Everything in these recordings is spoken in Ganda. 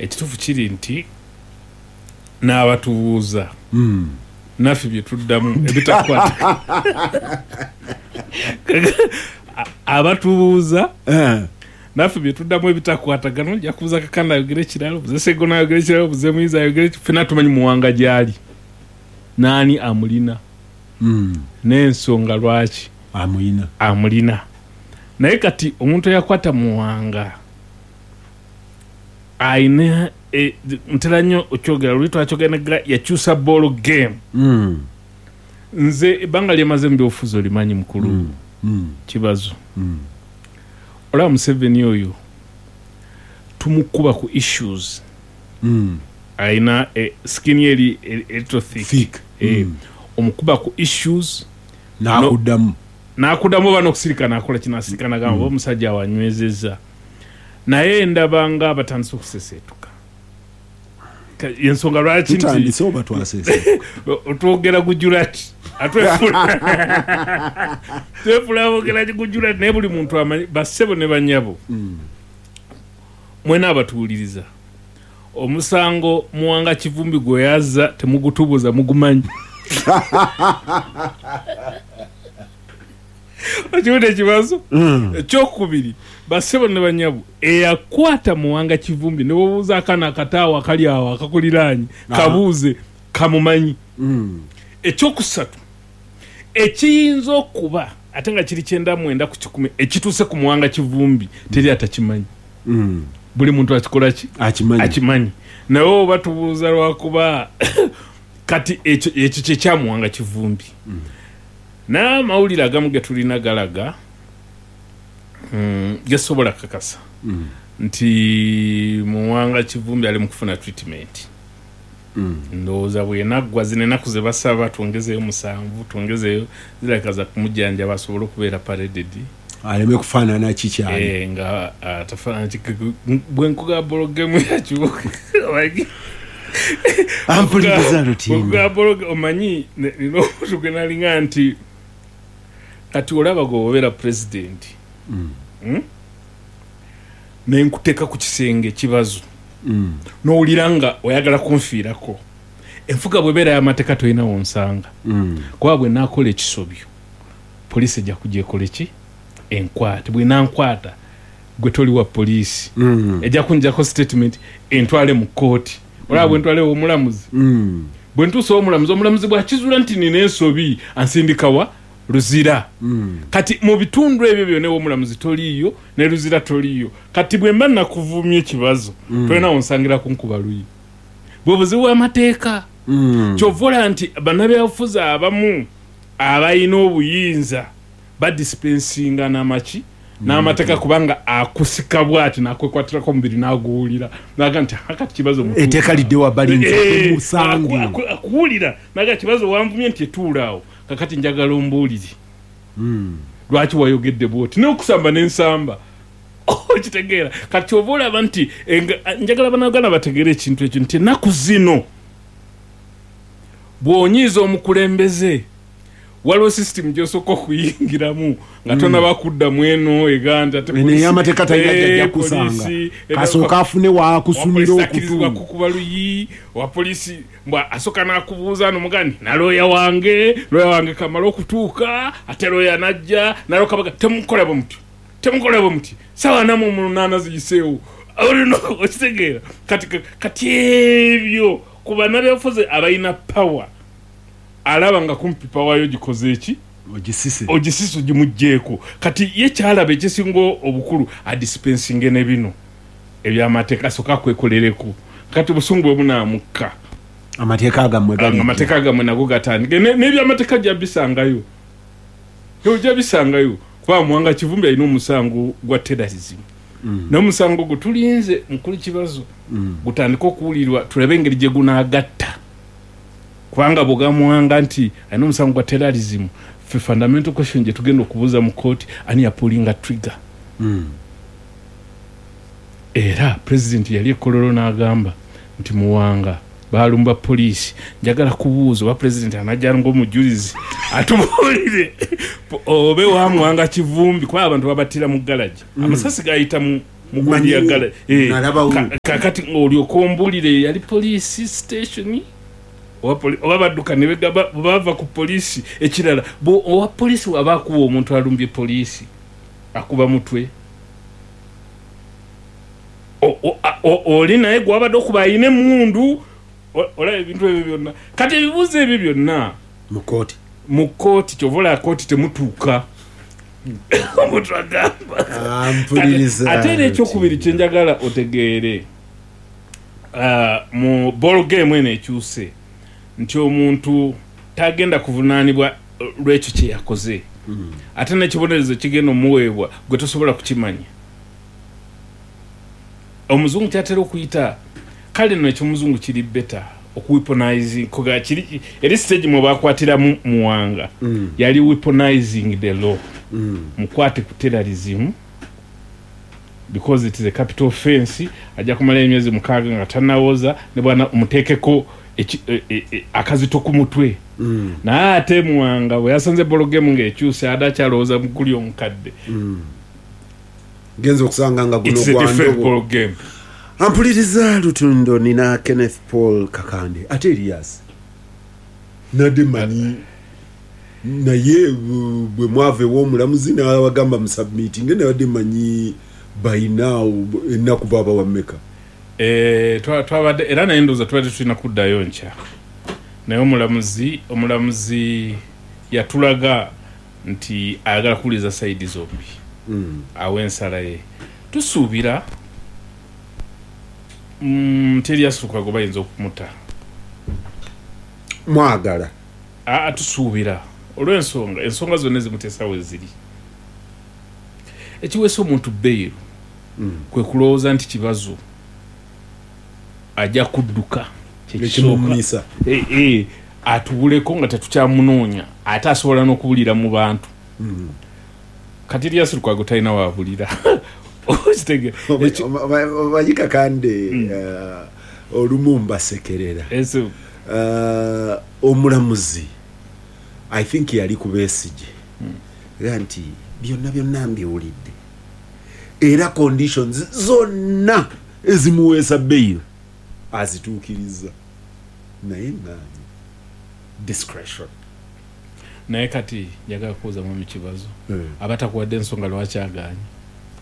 Ekituufu kiri nti n'abatubuuza naffe bye tuddamu ebitakwata abatubuuza naffe bye tuddamu ebitakwatagana. Ojja kubuuza Kakanda ayogere ekirala, obuze Segona ayogere ekirala, obuze Muyizi ayogere, ffenna tumanyi Muwanga gy'ali, naani amulina n'ensonga lwaki amulina. Amulina. Naye kati omuntu eyakwata Muwanga ayina ntera nnyo okyogera, luli twakyogera, yakyusa ball game. Nze ebbanga lyemaze mu byobufuzi olimanyi, mukulu Kibazo. Olaba Museveni oyo tumukuba ku issues, ayina skin eri little thick. Omukuba ku issues nakuddamu. Nakuddamu oba n'okusirika nakola kinasirika nagamba oba omusajja awanywezezza, naye ndaba nga batandise okuseseetuka. Ensonga lwaki nti Tutandise oba twasese? Twogera gujulati, twefula bogera gujulati, naye buli muntu amanyi. Bassebo ne banyabo, mwena abatuwuliriza, omusango Muwanga Kivumbi gwe yazza temugutubuuza, mugumanyi. Okiwulira ekibazo? Ekyokubiri, bassebo ne banyabo, eyakwata Muwanga Kivumbi, ne bwobuuza akaana akataawo akali awo akakuliraanye, kabuuze, kamumanyi. Ekyokusatu ekiyinza okuba ate nga kiri 99%, ekituuse ku Muwanga Kivumbi teri atakimanyi. Buli muntu akikola ki? Akimanyi. Akimanyi. Naye oba tubuuza lwakuba kati ekyo kyekyamuwanga Kivumbi. N'amawulire agamu ge tulina galaga, gesobola kakasa nti Muwanga Kivumbi ali mu kufuna treatment. Ndowooza bwenaggwa zino ennaku ze basaba twongezeyo 7, twongezeyo, zirabika za kumujjanjaba asobole okubeera paraded, aleme kufaanana kikyali. Nga tafaanana bwe nkuga ball game yakibuga. Ampuliriza Lutimba. Omanyi nina omuntu gwe nalinga nti kati olaba gwe obeera pulezidenti, Nenkuteeka ku kisenge ekibazo, n'owulira nga oyagala kunfiirako. Enfuga bwebeera y'amateeka tolina wonsanga, kuba bwe naakola ekisobyo poliisi ejja kujja ekole ki? Enkwate. Bwenankwata gwe toli wa poliisi, ejja kunjako statement entwale mu kooti. Olaba bwentwale omulamuzi, bwe ntuusa omulamuzi, omulamuzi bwakizuula nti nina ensobi ansindikawa? Luzira. Kati mu bitundu ebyo byonna ew'omulamuzi toliiyo, ne Luzira toliiyo. Kati bwe mba nakuvumya ekibazo, tolina wonsangira kunkuba luyi. Bwe buzibu bw'amateeka. Kyova olaba nti bannabyabufuzi abamu abalina obuyinza badispensinga n'amaki n'amateeka, kubanga akusika bwati nakwekwatirako omubiri n'aguwulira naga nti akati kibazo mutuufu. Etteeka lidde wabbali nze musange. Akuwulira naga kibazo wanvumye nti etuula awo, kakati njagala ombuulire lwaki wayogedde bwoti n'okusamba n'ensamba. Okitegeera? Kati oba olaba nti njagala Bannayuganda bategeere ekintu ekyo nti ennaku zino bw'onyiiza omukulembeze waliwo system gy'osooka okuyingiramu nga tonaba kuddamu eno ega nti ate Eno ey'amateeka talina gy'ajja kusanga. Poliisi, Kasooka afune waakusumira wa poliisi akkirizibwa okutu. Kukuba luyi wa poliisi mbwa asooka n'akubuuza nomugani na looya wange, looya wange kamala okutuuka, ate looya najja nalokabaga temukola bwe mutyo, temukola bwe muti, sawa 48 ziyiseewo. Olina okitegeera? Kati ebyo ku bannabyabufuzi abalina power, alaba nga kumpi power yo gikoze eki? Ogisise. Ogisise, ogimugjeeko. Kati ye kyalaba ekisinga obukulu adispensinge ne bino ebyamateeka, asooka akwekolereko. Kati obusungu bwe bunaamukka, amateeka gammwe gali. Amateeka gammwe nago gatandike. N'ebyamateeka ojja bisangayo, ojja bisangayo, kuba Muwanga Kivumbi alina omusango gwa terrorism. N'omusango gwo tulinze, mukulu Kibazo, gutandike okuwulirwa tulabe engeri gye gunaagatta, kubanga bw'ogamuwanga nti alina omusango gwa terrorism, ffe fundamental question gye tugenda okubuuza mu kooti, ani yapullinga trigger? Era pulezidenti yali ekololo n'agamba nti Muwanga balumba poliisi. Njagala kubuuza oba pulezidenti anajja ng'omujulizi atubuulire obe wa Muwanga Kivumbi, kuba abantu babattira mu galagi, amasasi gayita mu Mugundi yagala Nalabawo. Kakati olyoka ombulire yali police station oba badduka ne bava ku poliisi. Ekirala, owa poliisi aba akuba omuntu alumbye poliisi, akuba mutwe. Oli naye gwabadde okuba ayina emmundu, olaba ebintu ebyo byonna. Kati ebibuuzo ebyo byonna mu kooti, mu kooti, kyova olaba kooti temutuuka. Omuntu agamba. Mpuliriza. Ate era ekyokubiri kyenjagala otegeere, mu ball game eno ekyuse nti omuntu tagenda kuvunaanibwa lwekyo kye yakoze, ate n'ekibonerezo kigenda omuweebwa gwe tosobola kukimanya. Omuzungu kyatera okuyita, kale nno ekyomuzungu kiri better okuweaponizing, koga kiri eri stage mwe bakwatiramu Muwanga, yali weaponizing the law. Mukwate ku terrorism because it is a capital offense, ajja kumala emyezi 6 nga tannawoza, ne bwana omuteekeko akazito ku mutwe. Naye ate Muwanga bwe yasanze ball game ng'ekyuse, ate akyalowooza mukuli omukadde. Genza okusanga nga guno It's a different gwa ball game. Ampuliriza Lutundo, nina Kenneth Paul Kakande ate Elias nadde manyi naye bwe mwava ew'omulamuzi n'abagamba musubmitinge, nabadde manyi by now ennaku baaba wammeka? Twabadde era naye ndowooza tubadde tulina kuddayo nkya, naye omulamuzi yatulaga nti ayagala kuwuliriza side zombi, awa ensala ye. Tusuubira nti Erias Lukwago bayinza okumuta. Mwagala? Aa, tusuubira olw'ensonga ensonga zonna ezimuteesa we ziri. Ekiweesa omuntu bail kwe kulowooza nti Kibazo ajja kudduka, kyekisooka. Ekimumisa. Atubuleko nga tetukyamunoonya, ate asobola n'okubulira mu bantu. Kati Erias Lukwago talina waabulira. Okitegeera? Omanyi Kakande, olumu mbasekerera. Omulamuzi I think yali ku Besigye, era nti byonna byonna mbiwulidde, era conditions zonna ezimuweesa bail azituukiriza, naye ŋŋaanyi discretion. Naye kati njagala kubuuza mwami Kibazo, aba takuwadde ensonga lwaki agaanye,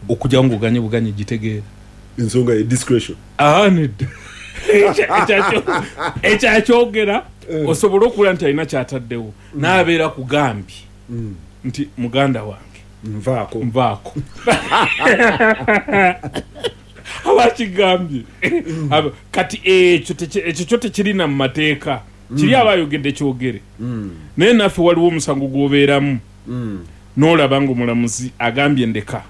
okujjawo ng'oganye buganye gitegeera? Ensonga ye discretion. Nedda. Ekyakyogera osobole okuwulira nti alina kyataddewo, n'abeera kugambye nti muganda wange nvaako, nvaako, abakigambye. Kati ekyo kyo tekirina mu mateeka, kiri aba ayogedde kyogere. Naye naffe waliwo omusango gw'obeeramu n'olaba ng'omulamuzi agambye ndeka,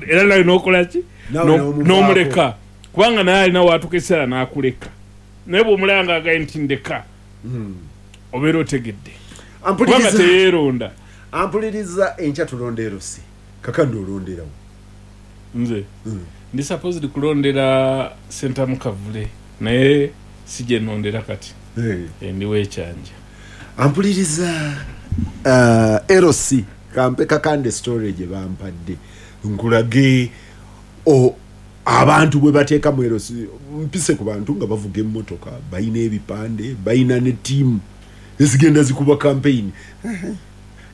era nawe n'okola ki? Nawe n'omuvaako. N'omuleka, kubanga naye alina waatuuka ekiseera n'akuleka. Naye bw'omulaba ng'agambye nti ndeka, obeera otegedde, kubanga teyeeronda. Ampuliriza, enkya tulonda erosi. Kakandi, olonderawo? Nze ndi supposed kulondera Sentamu Kavule, naye si gye nondera kati. Ndiwo ekyanja. Ampuliriza, LC kampe Kakande story gye bampadde nkulage abantu bwe bateeka mu LC. Mpise ku bantu nga bavuga emmotoka, balina ebipande, balina ne ttiimu ezigenda zikuba campaign.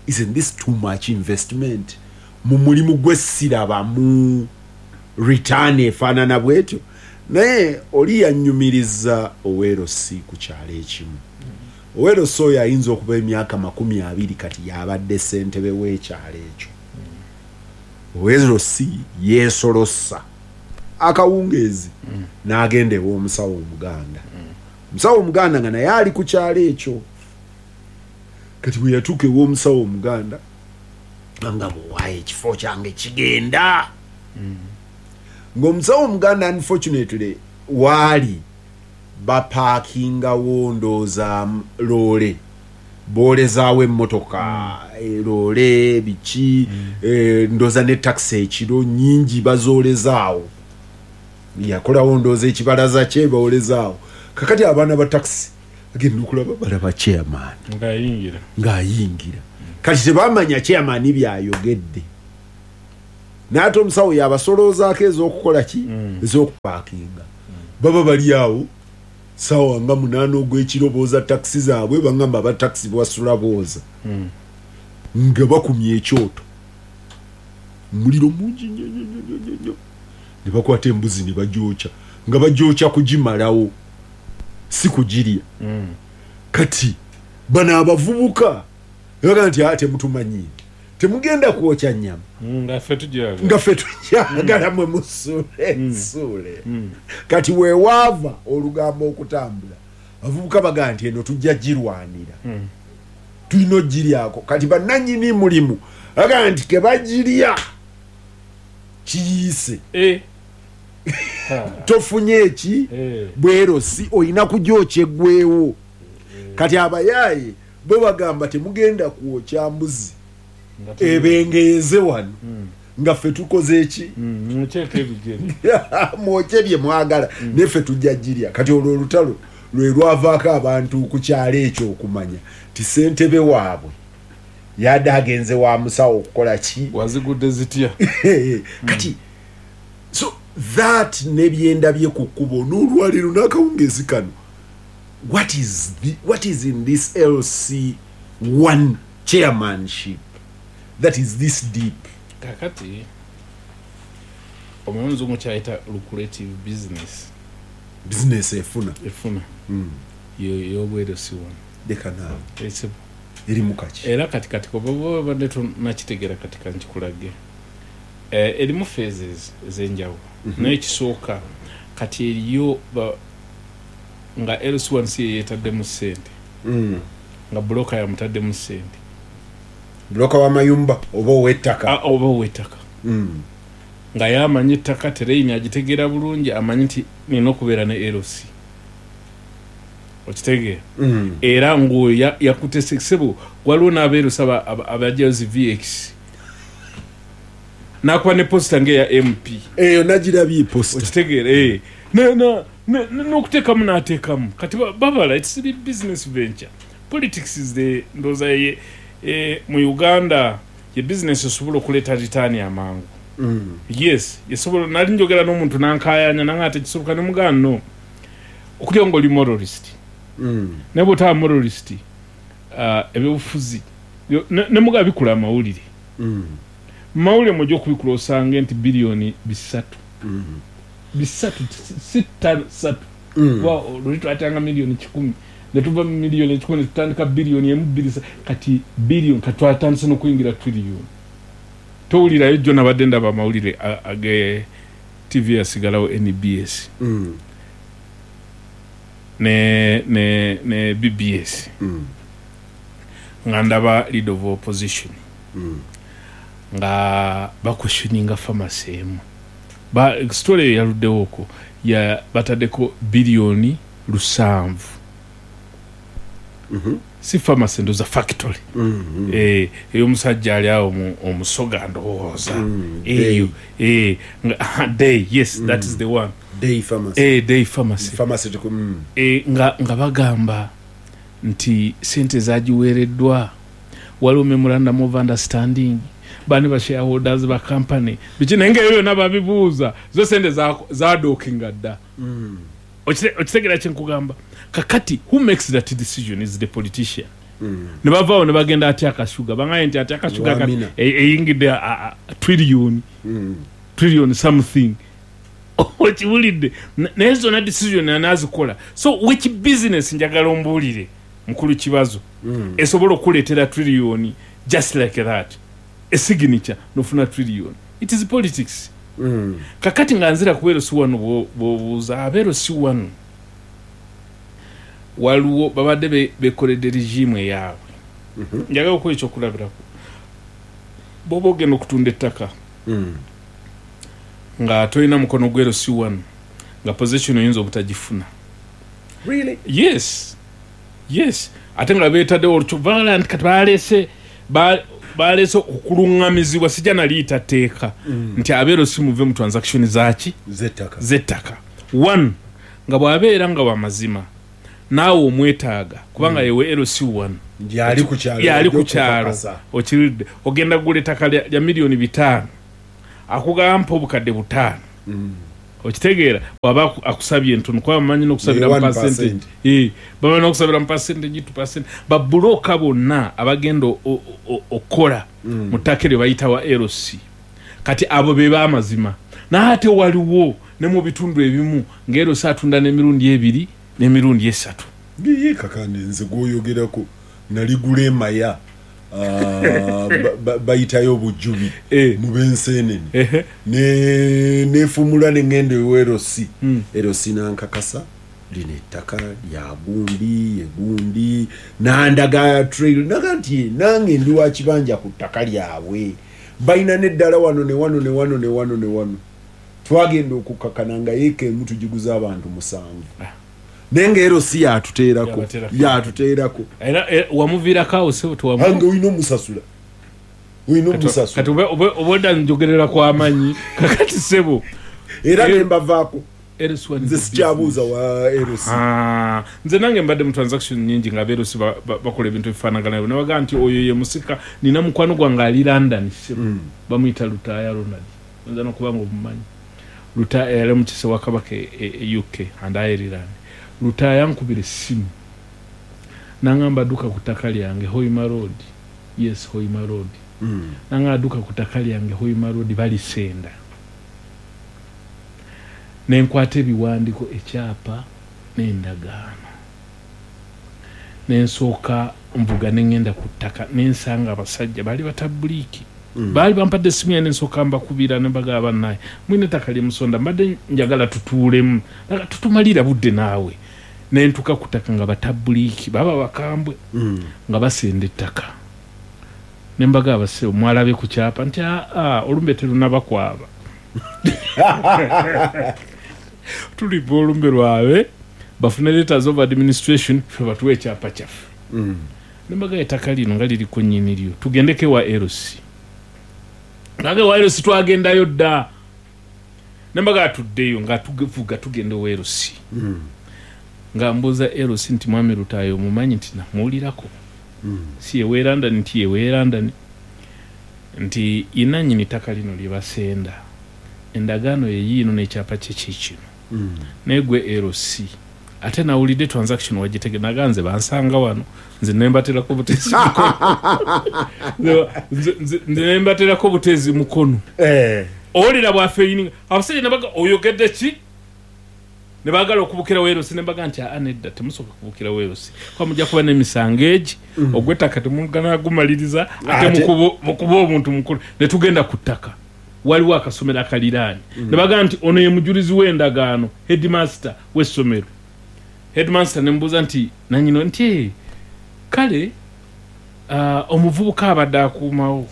Isn't this too much investment mu mulimu gwessirabamu return efaanana bwetyo? Naye oli yannyumiriza owa LC ku kyalo ekimu. Owa LC oyo ayinza okuba emyaka 20 kati, yabadde ssentebe w'ekyalo ekyo. Owa LC yeesolossa akawungeezi n'agenda ew'omusawo omuganda, omusawo omuganda nga naye ali ku kyalo ekyo. Kati bwe yatuuka ew'omusawo omuganda, nga bwewaayo ekifo kyange kigenda, ng'omusawo omuganda unfortunately waali bapaakingawo ndooza loole, boolezaawo emmotoka, loole biki, ndooza ne takisi ekiro nyingi bazoolezaawo. Yakolawo ndooza ekibalaza kye boolezaawo. Kakati abaana ba takisi agenda okulaba, balaba chairman ng'ayingira, ng'ayingira. Kati tebamanya chairman byayogedde. Naye omusawo yabasoloozaako ez'okukola ki, ez'okupaakinga. Baba bali awo sawa nga 8 ogw'ekiro, booza takisi zaabwe, bagamba aba takisi bwasula booza, nga bakumya ekyoto, omuliro mungi nnyo nnyo nnyo nnyo nnyo, ne bakwata embuzi ne bagyokya, nga bagyokya kugimalawo, si kugirya. Kati bano abavubuka baga nti, "Ah, temutumanyi, temugenda kwokya nnyama." Nga ffe tugyagala. Nga ffe tugyagala, mwe musuule nsuule. Kati weewaava olugambo okutambula, abavubuka bagaa nti eno tujja girwanira, tulina ogiryako. Kati bannannyini mulimu bagaa nti kebagirya kiyiise. Tofunye eki? Bwerosi olina kugyokya eggwewo. Kati abayaaye bo bagamba temugenda kwokya mbuzi Nga ebengeyeze wano nga ffe tukoze eki? Mukyeko ebigere. Mwokye bye mwagala, neffe tujja girya. Kati olwo olutalo lwe lwavaako abantu ku kyalo ekyo okumanya ti ssentebe waabwe yadde agenze wa musawo okukola ki? Wazigudde zitya? Kati so that nebyendabye ku kkubo n'olwaleero n'akawungeezi kano, what is in this LC1 chairmanship that is this deep? Kakati omanyi omuzungu kyayita lucrative business. Business efuna. Efuna y'obwerosi wano. Leka naawe. Esibu. Eri mukaki? Era kati oba babadde tonakitegera, kati kankikulage. Erimu phases ez'enjawulo, naye ekisooka kati eriyo nga LC1 si yeyeetaddemu ssente, nga broker yamutaddemu ssente. Broker w'amayumba oba ow'ettaka? Ah, oba ow'ettaka, nga yamanyi ettaka, terrain agitegeera bulungi, amanyi nti nina okubeera ne LC, okitegeera? Era ngaoyo yakute sebo, waliwo n'abeerusa abajjayo zi VX nakuba ne poster ngaeya MP. Eyo nagirabye poster. Okitegeera? Eh. N'okuteekamu n'ateekamu. Kati babala, it's the business venture. Politics is the, ndowooza ye mu Uganda ye business esobola okuleeta return amangu. Yes, esobola. Nali njogera n'omuntu nankayanya nanga tekisoboka, nemugaa no okulya nga oli moralist, naye bwotaba moralist, ebyobufuzi nemugaa bikula amawulire. Mawulire mujja okubikula osange nti biliyoni 300, bisatu si ttaano, ssatu. Kuba luli twatanga miliyoni 100, netuva mu miliyoni 100 netutandika biliyoni 1, 2, kati biliyoni, kati twatandise n'okuyingira triliyoni. Towulirayo jjo nabadde ndaba amawulire age TV yasigalawo NBS ne BBS, nga ndaba leader of opposition nga baquestioninga pharmacy emu. Story eyo yaluddewo okwo ya bataddeko biliyoni 700. Si pharmacy, ndoza factory. Ey'omusajja ali awo omusoga ndowooza. Eyo day, yes, that is the one. Day pharmacy. Day pharmacy. Pharmaceutical. Nga bagamba nti sente zagiweereddwa, waliwo memorandum of understanding, bani ba shareholders ba company biki, naye nga ebyo byonna babibuuza, zo sente zadookinga dda. Okitegeera kyenkugamba? Kakati who makes that decision is the politician. Ne bavaawo ne bagenda atya akashuga, bangaye nti atya akashuga Wamina. Eyingidde trillion, trillion something, okiwulidde? Naye zonna decision anazikola. So which business, njagala ombuulire mukulu kibazo, esobola okuleetera trillion just like that, a signature nofuna trillion? It is politics. Kakati nga nzira ku LC wano, bw'obuuza abe LC wano, waliwo babadde bekoledde regime eyaabwe. Njagala okuwa ekyokulabirako, bw'oba ogenda okutunda ettaka nga tolina mukono gwa LC wano, nga position oyinza obutagifuna. Really? Yes, ate nga beetaddewo olukyo nti kati baleese okuluŋŋamizibwa, sijja naliyita tteeka, nti abe LC muve mu transaction zaki? Z'ettaka. Z'ettaka. One, nga bw'abeera nga wamazima naawe omwetaaga kubanga yewe LC1. Yali ku kyalo. Yali ku kyalo. Okukakasa. Okiridde? Ogenda kugula ettaka lya miliyoni 500, Akugamba mpa obukadde 5. Okitegeera bw'aba akusabye entono kuba bamanyi n'okusabira mu 1%. percentage. Bamanyi n'okusabira mu percentage, 2%. Babuloka bonna abagenda okukola mu ttaka eryo bayita wa LC. Kati abo be b'amazima. Naye ate waliwo ne mu bitundu ebimu nga LC atunda n'emirundi 2 n'emirundi 3. Ye Kakande nze gw'oyogerako naligula emaya. Bayitayo Bujubi mu b'enseenene. Nefumula ne ŋŋenda ewa LC. LC n'ankakasa lino ettaka lya gundi, egundi, n'andaga trail, naga nti nange ndi wa kibanja ku ttaka lyabwe. Balina n'eddala wano ne wano ne wano ne wano ne wano. Twagenda okukakkana nga yiika emu tugiguza abantu 7. Naye nga LC yatuteerako, Yabateerako. yatuteerako. Era wamuviirako awo ssebo tewamu- Ange olina omusasula. Olina omusasula. Kati obwedda njogerera kw'amanyi. Kakati ssebo. Era ne mbavaako. LC one Nze is sikyabuuza wa LC. Nze nange mbadde mu transaction nnyingi nga LC bakola ebintu ebifaanagana nabyo. Ne bagamba nti oyo ye musika, nina mukwano gwange ali London ssebo. Bamuyita Lutaaya Ronald. Oyinza n'okuba nga omumanyi. Lutaaya yali omukiise wa Kabaka e UK and Ireland. Lutaaya ankubira essimu. N'angamba dduka ku ttaka lyange Hoima Road. Yes, Hoima Road. N'angamba dduka ku ttaka lyange Hoima Road balisenda. Ne nkwata ebiwandiiko, ekyapa n'endagaano. Ne nsooka nvuga ne ŋŋenda ku ttaka ne nsanga abasajja baali batabbuliiki. Baali bampadde essimu yange ne nsooka mbakubira ne mbagamba bannaye mulina ettaka lye musonda mbadde njagala tutuulemu. Naga tutumalira budde naawe. Ne ntuuka ku ttaka nga batabbuliiki baba bakambwe nga basenda ettaka. Ne mbagamba ssebo mwalabye ku kyapa nti aa olumbe terunabakwaba. Tulipa olumbe lwabwe bafune letters of administration ffe batuwe ekyapa kyaffe. Ne mbagamba ettaka lino nga liriko nnyini lyo tugendeko ewa LC. Nange ewa LC twagendayo dda. Ne mbagamba tuddeyo nga tuvuga tugenda ewa LC. Nga mbuuza LC nti mwami Lutaaya omumanyi nti namuwulirako. Si ye w'e London nti ye w'e London. Nti ye nannyini ttaka lino lye basenda. Endagaano ye yiino n'ekyapa kye kiikino. Naye gwe LC ate nawulidde transaction wagitegedde naga nze bansanga wano nze ne mbaterako buteezi mukono. Nze ne mbaterako buteezi mukono. Owulira bw'afeyininga abasajja ne baga oyogedde ki? Ne baagala okubukira LC ne baga nti aa nedda temusooka kubukira LC kuba mujja kuba n'emisango egi ogw'ettaka temugana gumaliriza ate mukuba omuntu mukulu. Ne tugenda ku ttaka waliwo akasomero akaliraanye. Ne bagamba nti ono ye mujulizi w'endagaano headmaster w'essomero. Headmaster ne mbuuza nti nannyini nti kale omuvubuka abadde akuumawo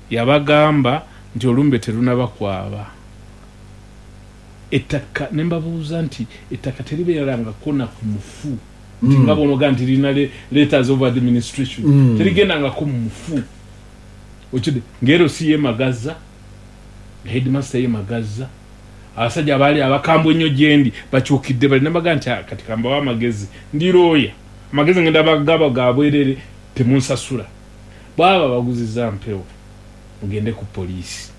yabagamba nti olumbe terunabakwaba. Ettaka ne mbabuuza nti ettaka teribeerangako na ku mufu. Nti nga bw'onoga nti lirina letters of administration. Terigendangako mu mufu. Okidde ng'ero si ye Magaza, headmaster ye Magaza. Abasajja abaali abakambwe ennyo gye ndi bakyukidde bali ne mbaga nti kati kambawe amagezi ndi looya amagezi ngenda bagaba ga bwerere temunsasula. Bw'aba baguzizza mpewo mugende ku poliisi.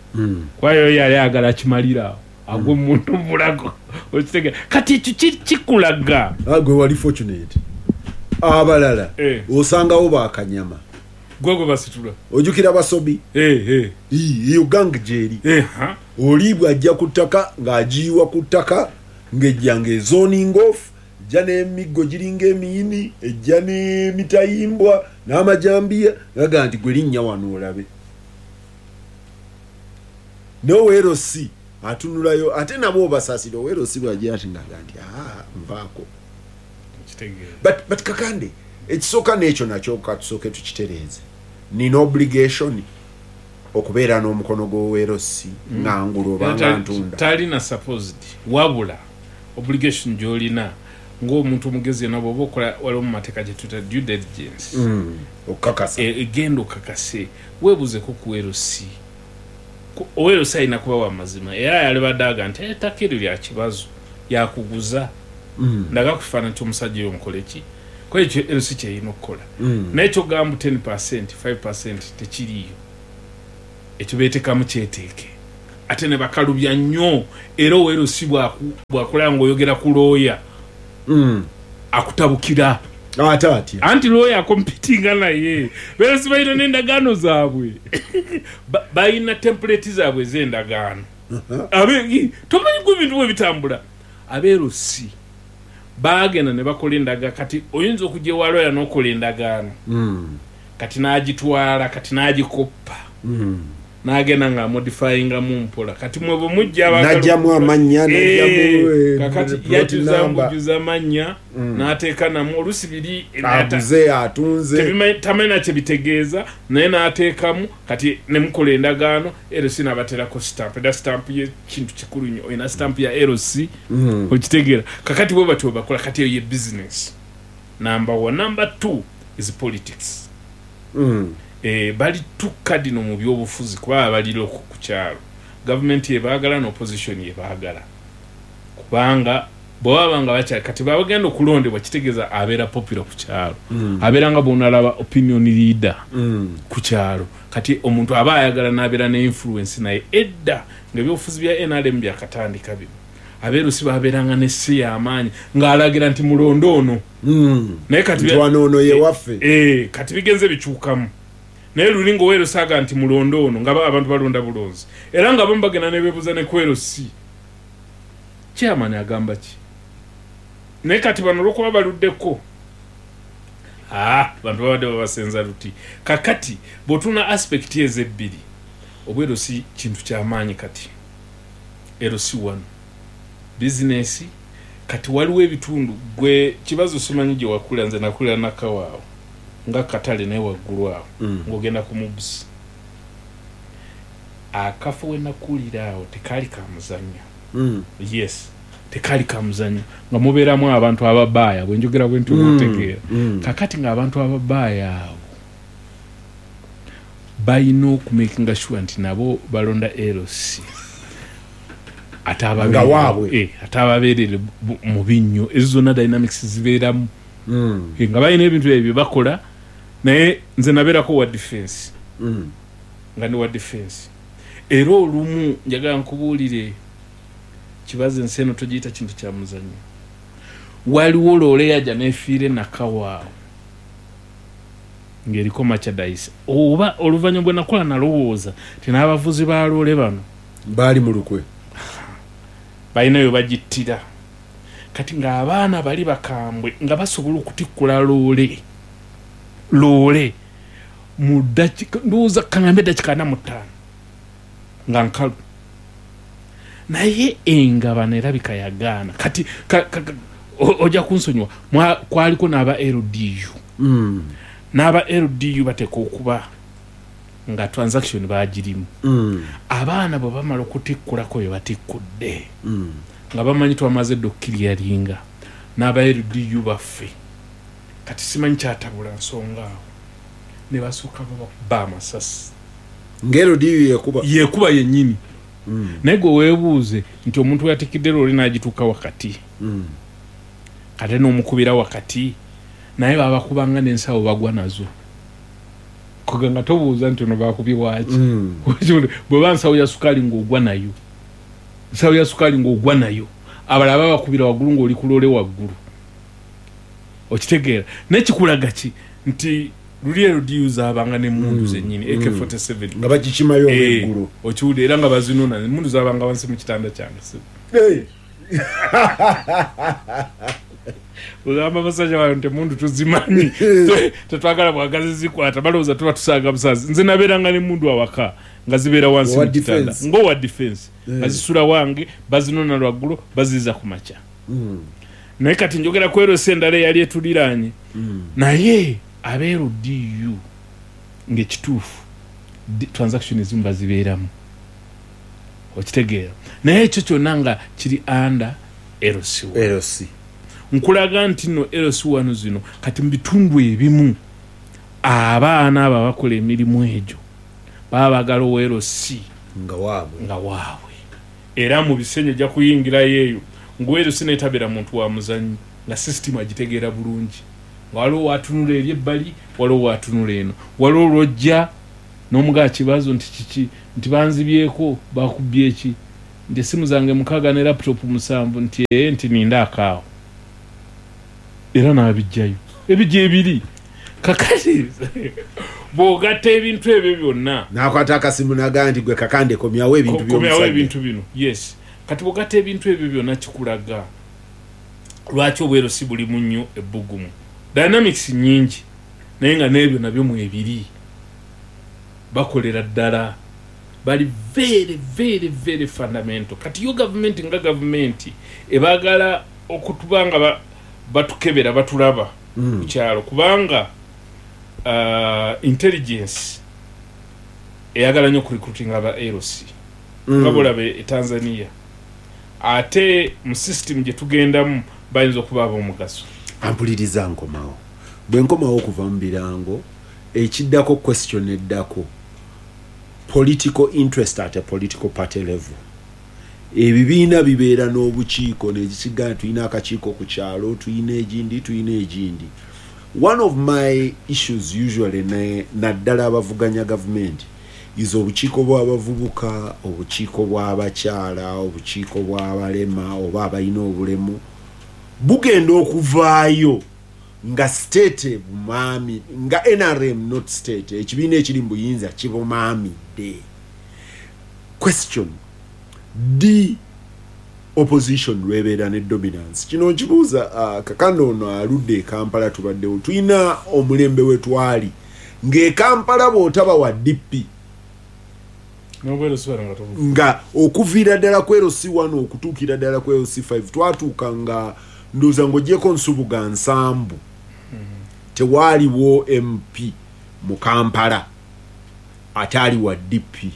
Kwayo yali ayagala akimalira awo agwe muntu mulago. Okitegeera kati ekyo kikulaga. Gwe wali fortunate. Abalala osangawo bakanyama. Gwe gwe basitula. Ojjukira basobi. Iyo gang gyeri. Oli bw'ajja ku ttaka ng'agiyiwa ku ttaka ng'ejja ng'ezoning off, ejja n'emiggo giringa emiyini, ejja n'emitayimbwa n'amajambiya, n'agamba nti gwe linnya wano olabe. N'owa LC atunulayo ate nabo obasaasira owa LC bw'ajja ati ng'agamba nti nvaako. But Kakande ekisooka n'ekyo nakyo katusooke tukitereeze. Nina obligation okubeera n'omukono gw'owa LC nga ngula oba nga ntunda. Talina supposed wabula obligation gy'olina ng'omuntu omugezi yenna bw'oba okola waliwo mu mateeka gye tuyita due diligence. Okukakasa. Egenda okakase weebuuzeko ku LC. Owa LC alina kuba wa mazima era yalibadde aga nti ettaka eryo lya kibazo yakuguza. Ndaga kufaanana nti omusajja oyo nkole ki? Ko ekyo LC ky'erina okukola. Naye ky'ogamba 10%, 5% tekiriiyo. Ekyo beetekamu kyeteeke. Ate ne bakalubya nnyo, era owa LC bwakulaba ng'oyogera ku looya akutabukira. Ate atya? Anti looya akompitinga naye. Ba LC balina n'endagaano zaabwe, balina template zaabwe ez'endagaano. Tomanyi gwe ebintu bwe bitambula. Aba LC bagenda ne bakola endagaano. Kati oyinza okujja ewa looya n'okola endagaano, kati n'agitwala, kati n'agikoppa, n'agenda nga amodifyingamu mpola. Kati mwe bwe mujja n'ajjamu amannya, n'ajjamu kakati yajuza mbujuza amannya, n'ateeka namu olusi biri aguze atunze, tamanyi na kye bitegeeza, naye n'ateekamu. Kati ne mukola endagaano, LC n'abateerako stamp. Era stamp ye kintu kikulu nnyo, olina stamp ya LC, okitegeera. Kakati bwe batyo bakola. Kati eyo ye business number one. Number two is politics. Bali tukadino mu byobufuzi, kuba bali local ku kyalo, gavumenti yebaagala n'opposition yebaagala, kubanga bwe baba nga bakyali kati babagenda okulondebwa, kitegeeza abeera popular ku kyalo, abeera nga bwonalaba opinion leader ku kyalo. Kati omuntu aba ayagala n'abeera ne influence. Naye edda nga ebyobufuzi bya NRM byakatandika bino, aba LC babeeranga ne si y'amaanyi ng'alagira nti mulonde ono. Naye kati ntwana ono yewaffe. Kati bigenze bikyukamu. Naye luli nga owa LC aga nti mulonde ono, nga abantu balonda bulonzi, era nga abamu bagenda ne beebuuza ne ku LC chairman agamba ki. Naye kati bano olwokuba baluddeko, bantu babadde babasenza luti. Kakati bw'otuna aspect ezo ebbiri, obwa LC kintu kyamaanyi. Kati LC one bizinesi. Kati waliwo ebitundu, gwe kibazo simanyi gye wakulira, nze nakulira Nakawaawo nga katale, naye waggulu awo ng'ogenda ku mubusi akafo we nakulira awo tekaali ka muzannyo. Yes, tekaali ka muzannyo, nga mubeeramu abantu ababaaya. Bwe njogera bwe nti otegeera. Kakati ng'abantu ababaaya abo balina okumakinga sure nti nabo balonda LC ate Nga waabwe. Ate ababeerere mu binnyo. Ezo zonna dynamics zibeeramu. Nga balina ebintu ebyo bye bakola. Naye nze nabeerako wa defense, nga ndi wa defense, era olumu njagala nkubuulire kibazo, ensi eno togiyita kintu kya muzannyo. Waliwo loole yajja nefiire Nakawaawo ng'eriko merchandise, oba oluvannyuma bwe nakola nalowooza ti n'abavuzi ba loole bano baali mu lukwe. Balinayo bagittira. Kati ng'abaana bali bakambwe nga basobola okutikkula loole, loole mu dakika, ndowooza kaŋambe dakika 45 nga nkalu, naye engabano erabika yagaana. Kati ojja kunsonyiwa, kwaliko n'aba LDU. N'aba LDU bateeka okuba nga transaction bagirimu. Abaana bwe bamala okutikkulako bye batikkudde, nga bamanyi twamaze dda okukiryalinga n'aba LDU baffe. Kati simanyi kyatabula nsonga awo, ne basooka babakuba amasasi. Nga LDU yekuba? Yekuba yennyini. Naye gwe weebuuze nti omuntu weyatikidde loole n'agituuka wakati, kate n'omukubira wakati, naye babakubanga n'ensawo bagwa nazo. Koga nga tobuuza nti ono bakubye waki. Bweba nsawo ya sukaali ng'ogwa nayo, nsawo ya sukaali ng'ogwa nayo. Abalala babakubira waggulu ng'oli ku loole waggulu, okitegeera? Naye kikulaga ki nti luli LDU zaabanga n'emmundu zennyini, AK47. Nga bagikimayo olweggulo. Okiwulira? Era nga bazinona. Emmundu zabanga wansi mu kitanda kyange. Hey. Ogamba basajja bano nti emundu tuzimanyi, tetwagala bwagazi zikwata, balowooza tuba tusaaga busaazi. Nze nabeeranga n'emundu awaka nga zibeera wansi Owa mu kitanda. defense. Ng'owa defense, bazisula wange, bazinona lwaggulo, baziza ku makya. Naye kati njogera ku LC endala eyali etuliraanye. Naye aba LDU ng'ekituufu transaction ezimu bazibeeramu, okitegeera? Naye ekyo kyonna nga kiri under LC. LC. Nkulaga nti nno LC wano zino kati mu bitundu ebimu abaana abo abakola emirimu egyo baba bagala owa LC nga waabwe. Nga waabwe. Era mu bisenyi ojja kuyingirayo eyo nga LC netabeera muntu wa muzannyo, nga system agitegeera bulungi, nga waliwo watunula eri ebbali, waliwo watunula eno, waliwo lwojja. N'omugaa kibazo nti kiki, nti banzibyeko, bakubye ki, nti essimu zange 6 ne laptop 7, nti ee, nti ninda akaawo, era n'abijjayo ebijja ebiri. Kakati bw'ogatta ebintu ebyo byonna, nakwata akasimu nagaa nti gwe Kakande komyawo ebintu komyawo by'omusajja. Ebintu bino, yes. Kati bw'ogatta ebintu ebyo byonna, kikulaga lwaki obwero si bulimu nnyo ebbugumu. Dynamics nyingi, naye nga n'ebyo nabyo mwebiri. Bakolera ddala, bali very very very fundamental. Kati yo gavumenti nga gavumenti ebaagala okutuba nga batukebera, batulaba ku kyalo, kubanga intelligence eyagala nnyo okurecruiting aba LC, nga bolaba e Tanzania. Ate mu system gye tugendamu bayinza okuba ab'omugaso. Ampuliriza, nkomawo. Bwe nkomawo okuva mu birango, ekiddako, question eddako, political interest at a political party level. Ebibiina bibeera n'obukiiko nekikigamba tulina akakiiko ku kyalo, tulina egindi, tulina egindi. One of my issues usually naddala abavuganya gavumenti is obukiiko bw'abavubuka, obukiiko bw'abakyala, obukiiko bw'abalema oba abalina obulemu, bugenda okuvaayo nga state bumaami, nga NRM, not state, ekibiina ekiri mu buyinza kibumaamidde. Question, the opposition lwebeera ne dominance, kino nkibuuza Kakande ono aludde e Kampala. Tubaddewo tulina omulembe we twali ng'e Kampala bw'otaba wa DP n'obwero sibala nga tobu nga okuviira ddala ku LC1 okutuukira ddala ku LC5, twatuuka nga ndowooza ng'ogyeko Nsubuga Nsambu, tewaaliwo MP mu Kampala ate ali wa DP.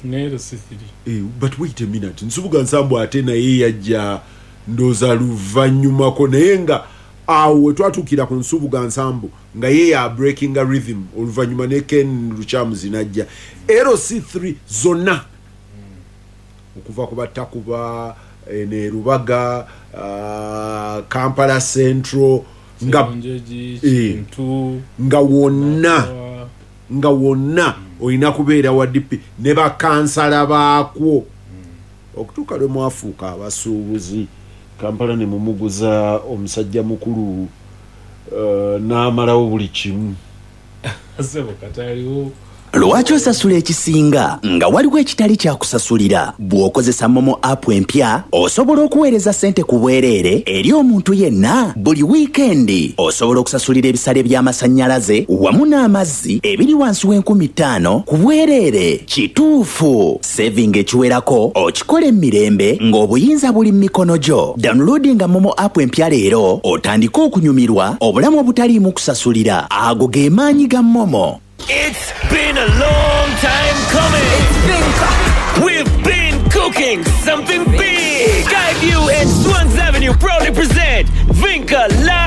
Ne LC3. But wait a minute, Nsubuga Nsambu ate naye yajja ndowooza luvannyumako, naye nga awo we twatuukira ku Nsubuga Nsambu nga ye ya breakinga rhythm, oluvannyuma ne Ken Lukyamuzi najja. LC3 zonna okuva ku Batakuba ne Rubaga, Kampala Central nga Njeji, Kintu, nga wonna Nakawa. Nga wonna olina kubeera wa DP ne bakansala baakwo, okutuuka lwe mwafuuka abasuubuzi, Kampala ne mumuguza omusajja mukulu, n'amalawo buli kimu. Sebo kati aliwo. Lwaki osasula ekisinga nga waliwo ekitali kyakusasulira? Bw'okozesa MoMo app empya, osobola okuweereza ssente ku bwereere eri omuntu yenna buli wiikendi. Osobola okusasulira ebisale by'amasannyalaze wamu n'amazzi ebiri wansi w'enkumi 5 ku bwereere. Kituufu, saving ekiwerako okikola emirembe ng'obuyinza buli mu mikono gyo. Downloadinga MoMo app empya leero otandike okunyumirwa obulamu obutaliimu kusasulira. Ago ge maanyi ga MoMo. It's been a long time coming. We've been cooking something big. Skyview and Swans Avenue proudly present Vinka